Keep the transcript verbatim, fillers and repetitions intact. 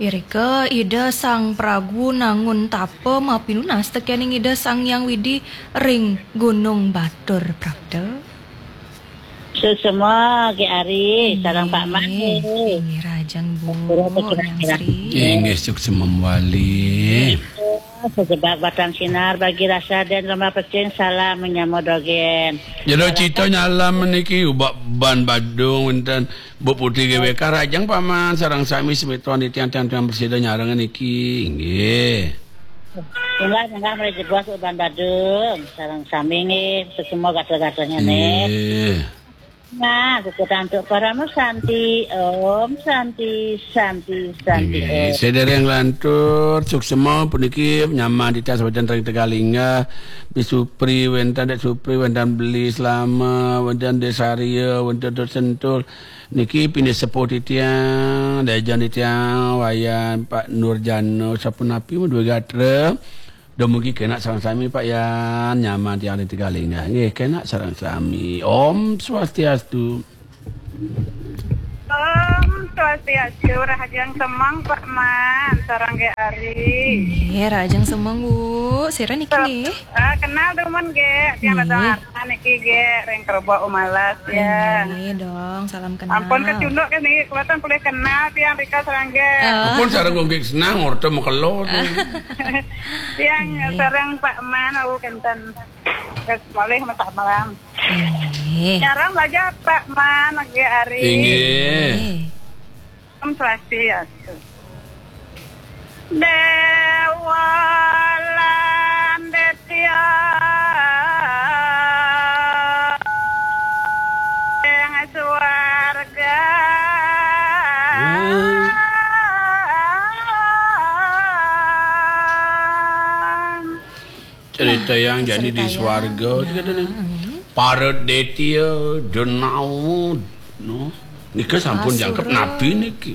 Irika Ida Sang Pragu nangun tapa mapinunas tekening Ida Sang Hyang Widi ring Gunung Batur, prapta. Suksema, Ki Ari, sareng Pak Made. Inggih, rahajeng Bu, Nyang Sri. Inggih, suksema mawali. Sejebak batang sinar bagi rasa den lemah pecing, salam menyama dogen. Jero cita nyalam niki ubak ban Badung wenten Bu Putri G W K, rahajeng Paman, sareng sami semeton titiang tiang-tiang prasida nyareng niki, inggih. Inggih, inggih, mriki jebos uban Badung, sareng sami nggih, suksema gatra-gatranya nggih. Nggih. Nah, kukutan untuk Parama Santi, Om Santi, Santi, Santi, Inggih, Om. Sedereng lantur, suksema puniki nyaman titiang sawajan ring Tegalinga, Bi Supri, wenten Dek Supri, wenten Beli Selama, wenten Dek Saria, wenten Dek Sentul. Niki pinih sepuh titiang, dajan titiang, Wayan, Pak Nurjana, sapunapi madue gatra. Dumugi kenak sareng sami, Pak Yan, nyaman tiang ring Tegalinga. Nggih, kenak sareng sami. Om Swastiastu. Om Swastiastu, rahajeng semeng, Pak Man, sareng Ki Ari. Nggih, rahajeng semeng, Bu. Sira niki nggih? Ah, kenal dumun nggih, tiang Nggih. Datang Arna niki nggih, ring Kerebok Umalas ya. Nggih, dong, salam kenal. Ampun kecunduk kan niki, kula tan polih kenal tiang rika sareng nggih. Ah. Ampun sareng nggih senang, orta makelo. Tiang Nggih. Sareng Pak Man, aku kenten. Wis malih masak malam. Nggih. Nyarang aja Pak Man, nggih Ari. Inggih. Nggih. Om Swastiastu. Dewa Landetya ing swarga. Hmm. Cerita yang jadi di Cerita yang, swarga, ya. Dikatakan, hmm. Para detya, denawa, no. Nika sampun Asura. Jangkep nabi niki.